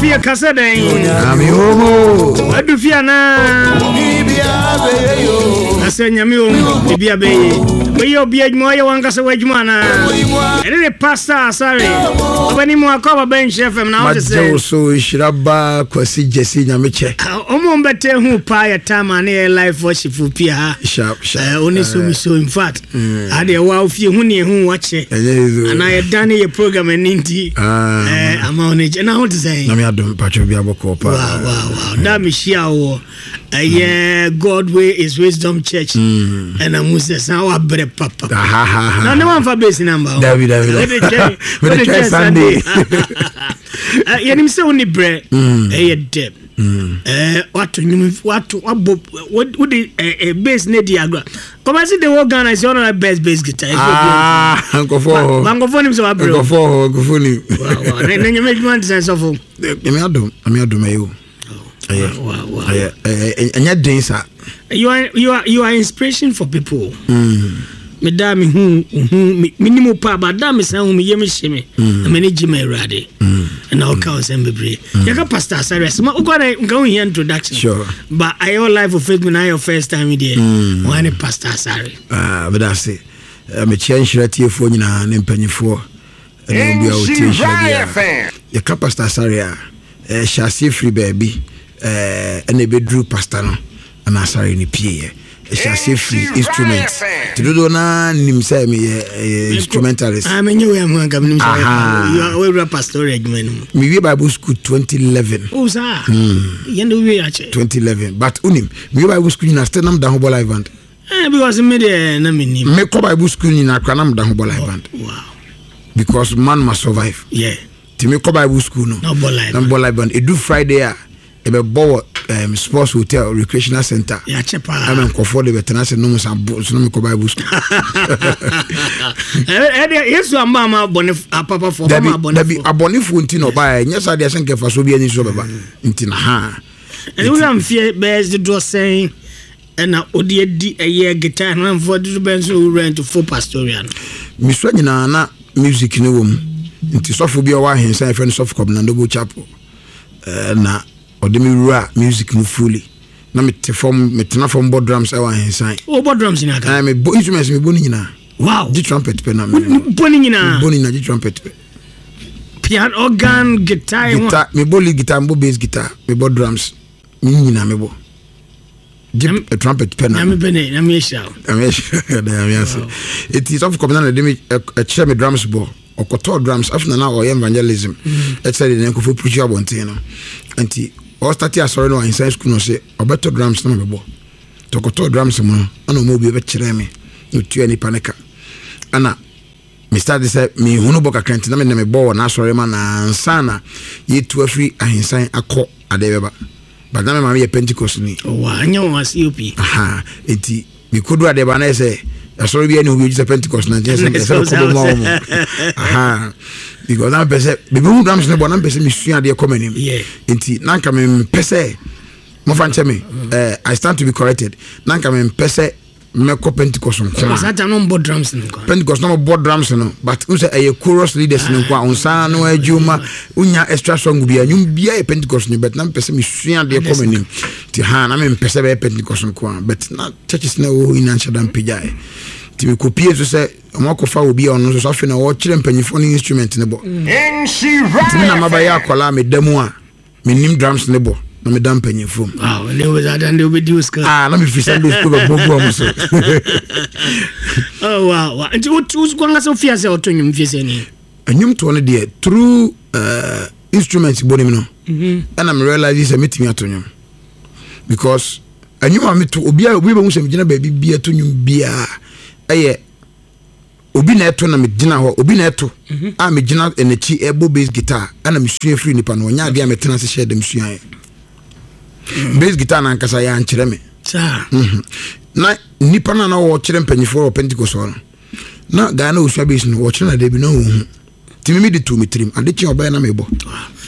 Fie ka sɛ dɛn? Nyame omo. Wadu fie anaa? Na sɛ Nyame omo, biribi abɛyɛ. Woyɛ obi adwuma, woyɛ wankasa w'adwuma anaa? Ɛne ne Pastor Asare. Ɔbɛni mu akɔ aba bɛn Nhyira FM na wote sɛ. Magye wo so nhyira ba Kwasi Gyesi Nyame kyɛ. Ɔmo mbɛtɛ hu paa yɛ time a ne yɛ live worship pia ha. Sharp sharp. Oni so mi so in fact. Adeɛ wa ofie hu ne ehu wakyɛ. Anaa yɛ dan ne yɛ program ɛni nti. Ama ɔne kyɛ na ho te sɛn. Nyame adom patro bi abɔkɔ paa. Wow wow wow. Da me hyia wɔ ɛyɛ God way is wisdom church. Ɛna mu sɛ san wa brɛ papa. Na ne wanfa base number. Dabi dabi. Wode twɛn wode twɛn Sunday. Yɛnim sɛ wo ne brɛ ɛyɛ dɛ. Wato nnwom wato wabɔ wode bass ne di agorɔ. Kɔmasi de wɔ Ghana is one of the best bass guitar. Ah, nkɔfɔ hɔ. Ba nkɔfɔ nim sɛ wabrɛ. Nkɔfɔ hɔ, nkɔfɔ nim. Wa na nyame adwuma nti sɛ sɔfo. Nyame adom, nyame adom ɛyɛ o. Ɛyɛ, ɛyɛ, ɛnyɛ den sa. You are inspiration for people. Me da me hu hu me me nim pa ba da me san hu me yam hye me. Na me ne gye ma Awurade. Na ɔka ɔsɛm bebree. Yɛka Pastor Asare asɛm wokɔ na nka wo hia introduction. Sure. But ayɛ live for Facebook na ayɛ first time deɛ. Wɔn ne Pastor Asare. Ah, meda ase. Mekyia nhyira tiefoɔ nyinaa ne mpanyinfoɔ ɛne obi a ɔtie nhyira biara. Yɛka Pastor Asare a, ɛhyɛ aseɛ firi baabi ɛna ɛbɛduru pastor no ɛna Asare no pieeɛ. Ɛhyɛ aseɛ firi instrument. Nti dodoɔ naa nim sɛ meyɛ instrumentalist. Ah, menye wei ahu anka menim sɛ woawura pastoral adwuma no mu. Mewie Bible school 2011. Oh, saa. Yɛn de wowie akyɛ. 2011 but wonim mewie Bible school nyinaa still nam da ho bɔ live band. Eh, because me deɛ na menim. Mekɔ Bible school nyinaa koraa na meda ho bɔ live band. Wow. Because man must survive. Nti mekɔ Bible school no. Na bɔ live. Na bɔ live band. Edu Friday a ɛbɛbɔ wɔ sports hotel recreational center. Yɛakyɛ paa. Ɛmɛ nkɔfoɔ de bɛtena ase nom sa bo so na mekɔ Bible school. Ɛdeɛ Yesu amba ama abɔne apapafoɔ Dabi ɔma abɔnefoɔ. Dabi, abɔnefoɔ nti na ɔbaeɛ, nyɛ saa deɛ sɛ nkɛfa so obi ani so bɛba nti na ha. Ɛne wura mfeɛ bɛyɛ dodoɔ sɛn ɛna wode adi ɛyɛ guitar no mfoɔ dodoɔ bɛn nso wura into full pastoral no? Mesua nyinaa na music no wɔ mu, nti sɔfo bi a ɔwɔ ahensan yɛfrɛ no sɔfo Kɔbena Noble Chapel na ɔde me wura music mu fully, na mete fam metena fam bɔ drums ɛwɔ ahensan. Wobɔ drums nyinaa ka? Mebɔ instruments, mebɔ ne nyinaa. Wow. Gye trumpet pɛ na me bɔ ne nyinaa. Mebɔ ne nyinaa gye trumpet pɛ. Piano, organ, guitar. Guitar, mebɔ lead guitar, mebɔ bass guitar, mebɔ drums, ne nyinaa mebɔ. Gye trumpet pɛ na. Nyame pɛ ne, Nyame ahyira wo. Nyame ahyira, Nyame ase. Eti sɔfo Kɔbena na de me ɛkyerɛ me drums bɔ. Ɔkɔtɔɔ drums afei na na ɔyɛ evangelism. Ɛkyerɛ de ne nkɔfo preach abɔnten no. Nti ɔstarte asɔre no ahensan school no sɛ ɔbɛtɔ drums na mabɛbɔ. Nti ɔkɔtɔɔ drums mu no ɛna ɔma obi bɛkyerɛ me na otua nipa ne ka. Ɛna me start sɛ mehunu bɔ kakra nti na me na mebɔ wɔ n'asɔre ma na ansa na yɛtu afiri ahensan akɔ adeɛ bɛba. But na me maame yɛ Pentecost ni. Oh, wow. Ɛnyɛ wɔn COP. Aha. Nti mekodu adeɛ ba na yɛ sɛ asɔre bi ɛne ho bi sɛ Pentecost na nkyɛn sɛ ɛsɛ mekɔbɔ ma wɔn. Aha. Because na mepɛ sɛ bebe hu drums ne bɔ na mepɛ sɛ mesua adeɛ kɔ m'anim. Nti na nka mempɛ sɛ mofa nkyɛ me. I stand to be corrected. Na nka mempɛ sɛ mɛkɔ Pentecost nko a. Saa ta no mbɔ drums no nko. Pentecost na mbɔ drums no, but n sɛ ɛyɛ chorus leaders no nko a nsa no adwuma wonya extra song bi a nnwom bia yɛ Pentecost no, but na mepɛ sɛ mesua adeɛ kɔ m'anim nti ha na mempɛ sɛ bɛyɛ Pentecost nko a, but na churches na ɛwɔ hɔ nyinaa nhyɛ da mpagyaeɛ nti mekɔpie nso sɛ ɔmo akɔfa obi a ɔno nso so afei na ɔkyerɛ mpanyinfoɔ no instrument no bɔ nti me na mabɛyɛ akwadaa a meda mu a menim drums ne bɔ na meda mpanyinfoɔ mu. Wow, ne wo dada ne wobɛdi wo sika. Ah, na mefiri Sunday school bɛbɔ gu ɔmo so. Oh, wow, wow. Nti wo ankasa wofie ase a wɔto nnwom fie sɛ ni? Nnwom toɔ no deɛ through instruments bɔ nim no ɛna me realize sɛ metumi ato nnwom because nnwom a meto obiara obi bɛhu sɛ megyina baabi biara to nnwom biara ɛyɛ obi na ɛto na megyina hɔ, obi na ɛto a megyina n'akyi ɛbɔ bass guitar ɛna mesua firi nipa no ɔnyɛ adeɛ a metena ase hyɛ dɛm suaeɛ. Bass guitar no ankasa yɛ ankyerɛ me. Na nipa no a na wɔkyerɛ mpanyinfoɔ wɔ Pentecost hɔ no na guy na ɔsua bass no wɔkyerɛ no adeɛ bi na ɔhu nti mimi de too me tirim ade kye ɔbɛyɛ na mebɔ.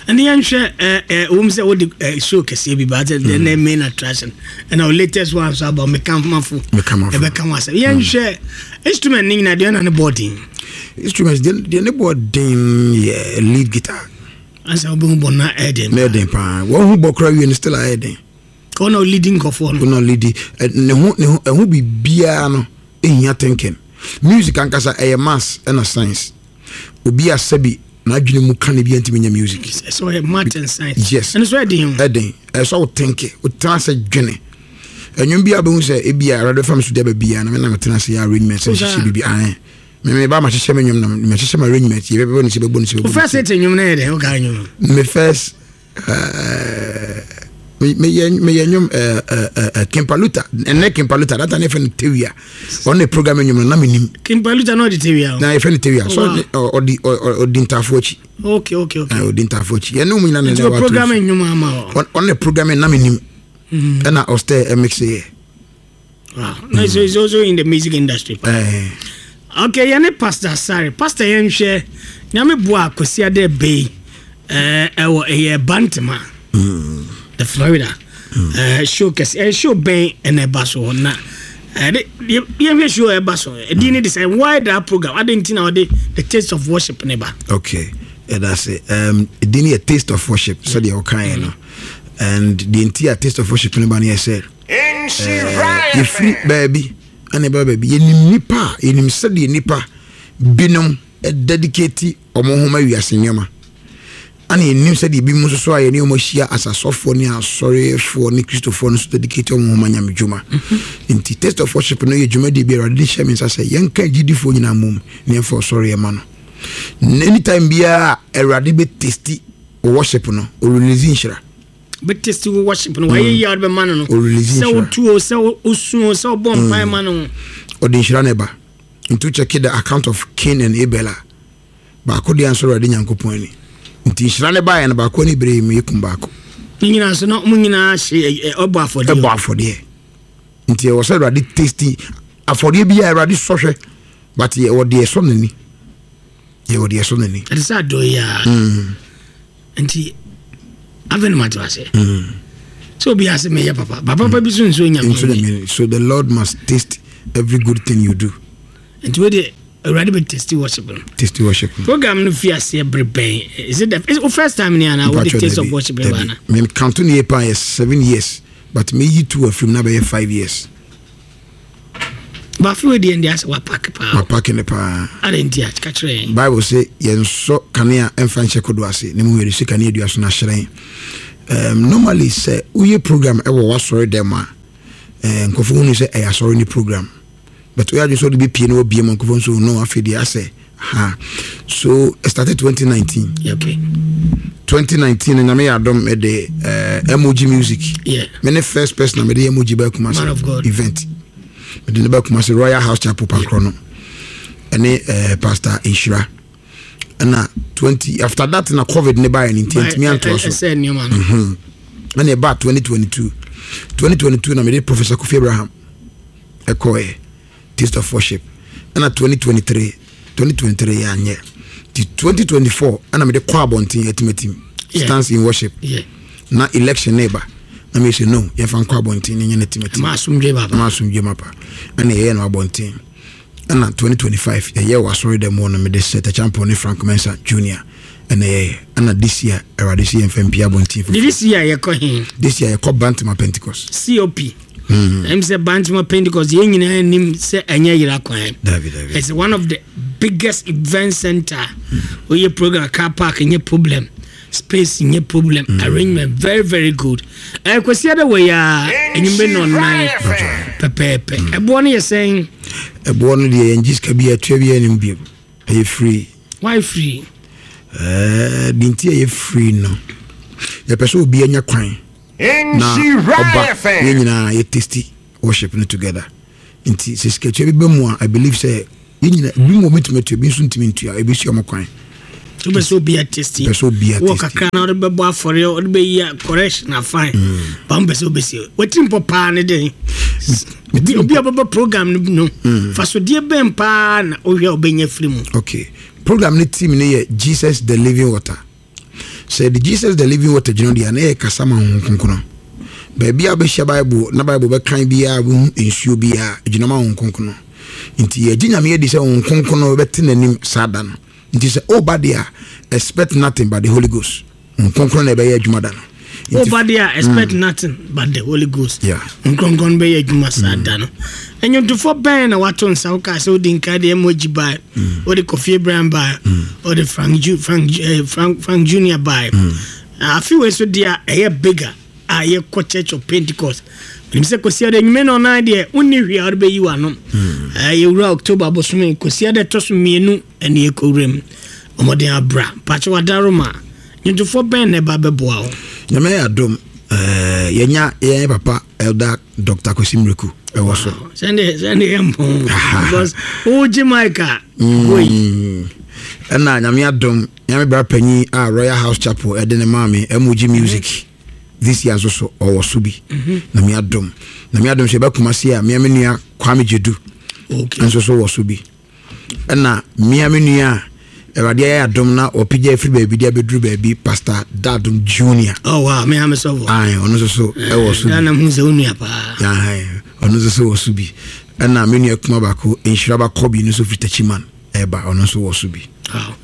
Ɛne yɛnhwɛ wom sɛ wode show kɛseɛ bi ba sɛ the main attraction ɛna wo latest one so aba mekamafo ɛbɛka ho asɛm. Yɛnhwɛ instrument ne nyinaa deɛ na ne bɔɔ den. Instruments deɛ ne bɔɔ den yɛ lead guitar. Ansa wobɛhu bɔ na ɛyɛ den. Na ɛyɛ den paa. Wɔn ho bɔ koraa wie no still ayɛ den. Ɔna ɔlidi nkɔfoɔ no. Ɔna ɔlidi ne ho ne ho ɛho biribiara no ehia thinking. Music ankasa ɛyɛ maths ɛna science. Obi a sɛbi n'adwene mu ka ne bi ntumi nyɛ music. Sɛ ɔyɛ math and science. Yes. Ɛno so ɛden o. Ɛden. Ɛsɛ wo think. Wotena ase dwene. Ɛnwom bi a bɛhu sɛ ebi a awurade fam so de aba biara na me na metena ase yɛ arrangement sɛ hyehyɛ biribi ae. Me me ba ma hyehyɛ me nwom na me hyehyɛ my arrangement yɛ bɛbɔ ne sɛ bɛbɔ ne sɛ bɛbɔ. Wo first hit nwom na yɛ dɛ wo ka nwom. Me first meyɛ meyɛ nnwom Kimpaluta ɛnɛ Kimpaluta data ne yɛfrɛ no Tewia ɔno ne program nnwom no na menim Kimpaluta na ɔde Tewia na yɛfrɛ no Tewia so ɔde ɔdi ntaafo akyi okay okay okay ɔdi ntaafo akyi yɛne mu nyina na ɛwɔ program nnwom ama ɔno ne program na menim ɛna ɔstɛ ɛmix yɛ. Wow. No, so he's also in the music industry. Eh. Okay, yɛne Pastor Asare. Pastor yɛnhwɛ Nyame boa Kwasi Ade Bey eh ɛwɔ ɛyɛ Bantama. The Florida. Eh show kɛse eh show bɛn ɛna ɛba so hɔ na ɛde yɛhwɛ show ɛba so. Ɛdi ne de sɛ why that program? Ade nti na ɔde the taste of worship ne ba. Okay. Ɛda se ɛdi ne yɛ taste of worship sɛdeɛ ɔkaeɛ no. And deɛ nti a taste of worship ne ba no yɛ sɛ yɛfiri baabi ɛna ɛbɛba baabi. Yɛnim nipa a, yɛnim sɛdeɛ nipa binom dedicate wɔn ho ma wiase nneɛma. Ɛna yɛnim sɛdeɛ ebinom nso so a yɛne wɔn ahyia as asɔfoɔ ne asɔrefoɔ ne Kristofoɔ no nso dedicate wɔn ho ma Nyame dwuma. Nti Taste of Worship no yɛ dwumadie bi a Awurade de hyɛ me nsa sɛ yɛnka agyidifoɔ nyinaa mmom na yɛmfa ɔsɔreɛ ma no. Anytime biara a Awurade bɛ testi worship no, ɔrelease nhyira. Bɛtesti wo worship no, wayɛ yie a wode bɛma no no, sɛ wotu o, sɛ wosu o, sɛ wobɔ mpae ma no. Ɔde nhyira na ɛba. Nti wo check the account of Cain and Abel a, baako deɛ ansɔ Awurade Nyankopɔn ani. Nti nhyira no baeɛ no, baako ani beree mu yɛkum baako. Ne nyinaa so na wɔn nyinaa hye ɔbɔ afɔdeɛ. Ɛbɔ afɔdeɛ. Nti ɛwɔ sɛ Awurade testi afɔdeɛ bi a Awurade sɔhwɛ, but yɛwɔ deɛ ɛsɔ n'ani. Yɛwɔ deɛ ɛsɔ n'ani. Ɛte sɛ adɔ yi a. Nti afei na mate ase. Sɛ obi ase meyɛ papa, ba papa bi so nso nyame. Nso nyame. So the Lord must taste every good thing you do. Nti wo de Awurade bɛ taste worship no. Taste worship. Program no fi aseɛ bere bɛn? Is it the is it first time ni ana wo de taste of worship ba na? Me count ne yɛ pa yɛ 7 years, but me yi two afim na bɛyɛ 5 years. Bafe wei deɛ ndeɛ asɛ wapack paa. Wapack ne paa. Adɛn nti a ka kyerɛ yɛn. Bible sɛ yɛnsɔ kanea ɛmfa nhyɛ kodo ase na mmom yɛde si kanea dua so na hyerɛn. Normally sɛ woyɛ program ɛwɔ w'asɔre dɛm a nkurɔfoɔ hunu sɛ ɛyɛ asɔre ne program, but woyɛ adwene sɛ wode bɛpie na wabie ma nkurɔfoɔ nso no afei deɛ asɛ ha. So it started 2019. 2019 no Nyame yɛ adom mede MOG Music. Me ne first person a mede MOG ba Kumasi event. Mede ne ba Kumasi Royal House Chapel Pankorɔ no ɛne Pastor Nhyira. Ɛna 20 after that na COVID ne baeɛ no nti ntumi antoa so. Ɛna ɛbaa 2022. 2022 na mede Professor Kofi Abraham ɛkɔɛ Taste of Worship. Ɛna 2023 2023 yɛ anyɛ nti 2024 ɛna mede kɔ abɔnten atimatim stands in worship. Na election ne ba na meyɛ sɛ no yɛmfa nkɔ abɔnten ne nyɛ no atimatim ma asomdwe mapa. Ɛna yɛyɛ no abɔnten. Ɛna 2025 yɛyɛ wɔ asɔre dɛm hɔ no mede Seth Acheampong ne Frank Mensah Junior ɛna yɛyɛ. Ɛna this year Awurade sɛ yɛmfa mpie abɔnten foforɔ. This year yɛkɔ he? This year yɛkɔ Bantama Pentecost. COP. Ɛm sɛ Bantama Pentecost yɛn nyinaa nim sɛ ɛnyɛ yera kwan. Dabi dabi. It's one of the biggest event center. Oyɛ program, car park nyɛ problem, space nyɛ problem, arrangement very very good. Kwasi ada wɔ yi a enyimbe nɔnan pɛpɛɛpɛ. Ɛboɔ no yɛ sɛn? Ɛboɔ no deɛ yɛngye sika bi atua bi anim bio. Ɛyɛ free. Why free? Deɛ nti ɛyɛ free no, yɛpɛ sɛ obi anya kwan na ɔba yɛn nyinaa yɛ taste worship no together. Nti sɛ sikatua bi ba mu a, I believe sɛ yɛn nyinaa ebi mu wɔn atua, ebi nso ntumi ntua, ebi si wɔn kwan. Wopɛ sɛ obi atesti. Pɛ sɛ obi atesti. Wɔ kakra na wode bɛbɔ afɔre, wode bɛyi a correction na fine. Ba mpɛ sɛ wobɛsi. Watiri mpɔ paa ne den. Obi a bɛbɔ program no no. Fasodeɛ bɛn paa na wohwɛ a wobɛnya firi mu? Okay. Program ne theme ne yɛ Jesus the Living Water. Sɛ yɛde Jesus the Living Water gyina deɛ a na yɛ kasa ma Honhom Kronkron. Baabi a wobɛhyia Bible na Bible bɛkan biara wobɛhu nsuo biara gyina ma Honhom Kronkron. Nti yɛgye Nyame adi sɛ Honhom Kronkron bɛte n'anim saa da no. Nti sɛ woba deɛ a, expect nothing but the Holy Ghost. Nkronkron na ɛbɛyɛ adwuma da no. Woba deɛ a, expect nothing but the Holy Ghost. Nkronkron bɛyɛ adwuma saa da no. Nnwontofoɔ bɛn na wato nsa wo kaa sɛ wodi nka deɛ Emoji bae, wode Kofi Abraham bae, wode Frank, Ju, Frank, eh, Frank, Frank Junior bae. Afe wei so deɛ a ɛyɛ bigger a yɛkɔ Church of Pentecost. Menim sɛ Kwasiada anwummerɛ na ɔnan deɛ wonni hwee a wode bɛyi w'ano. Yɛwura October bosome Kwasiada ɛtɔ so mmienu ɛne yɛkɔwura mu. Ɔmɔden abra. Mpakyɛ wadaroma. Nnwontofoɔ bɛn na ɛba bɛboa wo? Nyame ayɛ adom, yɛnya yɛn papa Elder Dr. Kwesi Miraku ɛwɔ so. Sɛnde sɛnde yɛ mpɔn because wogye mic a woi. Ɛna Nyame adom, Nyame bra panyin a Royal House Chapel ɛde ne maa me MOG Music this year nso so ɔwɔ so bi. Nyame adom. Nyame adom sɛ yɛbɛ Kumasi a mea me nua Kwame Gyedu nso so wɔ so bi. Ɛna mmea me nua a Awurade ayɛ adom na ɔpagya afiri baabi de abɛduru baabi, Pastor Dadom Junior. Oh wow, me ame sɔfo. Aye, ɔno nso so ɛwɔ so bi. Ghana hu sɛ wo nua paa. Aye, ɔno nso so wɔ so bi. Ɛna me nua kuma baako, Nhyira ba Kɔbi no nso firi Techiman ɛba, ɔno nso wɔ so bi. Wow.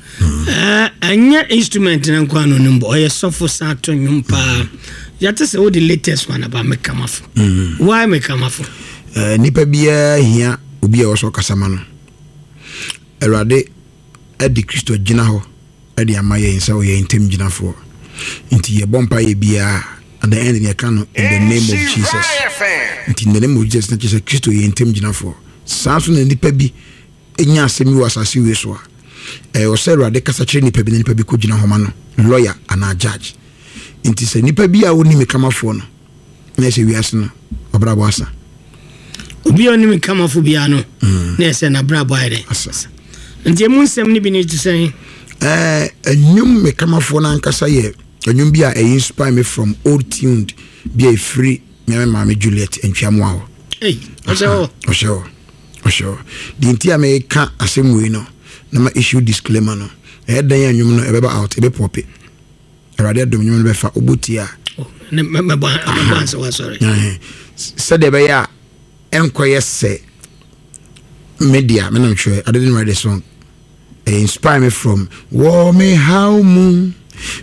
Ɛnyɛ instrument no nko ano no mbɔ, ɔyɛ sɔfo san to nnwom paa. Yɛte sɛ wode latest one aba, Mekamafo. Why Mekamafo? Nipa biara hia obi a ɔwɔ sɛ ɔkasa ma no. Awurade de Kristo agyina hɔ de ama yɛn sɛ ɔyɛ yɛn ntam gyinafoɔ. Nti yɛbɔ mpaeɛ biara, at the end yɛka no in the name of Jesus. Nti in the name of Jesus na kyerɛ sɛ Kristo yɛ yɛn ntam gyinafoɔ. Saa nso na nipa bi nya asɛm bi wɔ asase wei so a, ɛwɔ sɛ Awurade kasa kyerɛ nipa bi na nipa bi kɔgyina hɔ ma no, lawyer anaa judge. Nti sɛ nipa bi a ɔnni me kamafoɔ no, na ɛsɛ wiase no ɔbrabɔ asa. Obi a ɔnim nkamafo biara no, na ɛsɛ n'abrabɔ ayɛ dɛ asa. Nti emu nsɛm no bi ne te sɛn? Ɛɛ, ɛnwom me kamafoɔ no ankasa yɛ ɛnwom bi a ɛyɛ inspire me from old tuned bi a ɛfiri me me maame Juliet Ntwiamoa hɔ. Ei, ɔhyɛ hɔ. Ɔhyɛ hɔ. Ɔhyɛ hɔ. Deɛ nti a meka asɛm wei no, na ma issue disclaimer no, ɛyɛ dɛn a nnwom no ɛbɛba out, ɛbɛpɔpe. Awurade adom nnwom no bɛfa wobɔ tie a. Oh, mɛbɔ ansa wasɔre. Sɛdeɛ ɛbɛyɛ a ɛnkɔyɛ sɛ me dea me nam twerɛ I didn't write the song. It inspire me from wɔ me haw mu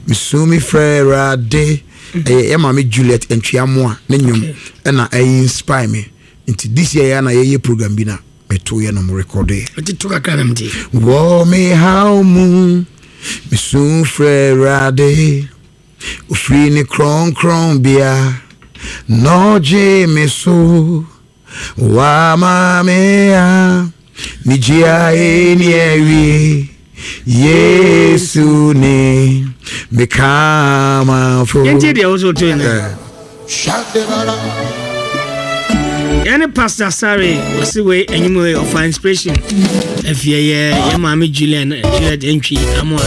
mesu me frɛ Awurade. Ɛyɛ yɛ maame Juliet Ntweamoa ne nnwom ɛna ɛyɛ inspire me. Nti this year yɛ na yɛyɛ program bi na meto yɛ no mo rekɔdo yɛ. Nti to kakra na mete. Wɔ me haw mu mesu frɛ Awurade ofiri ne kronkron bea na ɔgye me so wama me a ne gye a ɛni awie Yesu ne me kamafo. Yɛntie deɛ wo so to no. Yɛne Pastor Sare ɔse wei enyim wei ɔfa inspiration afie yɛ yɛ maame Julian Juliet Antwi Amoa.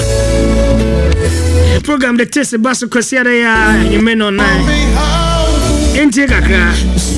Program de tese ba so kwasi ada ya enyime no nan. Yɛntie kakra.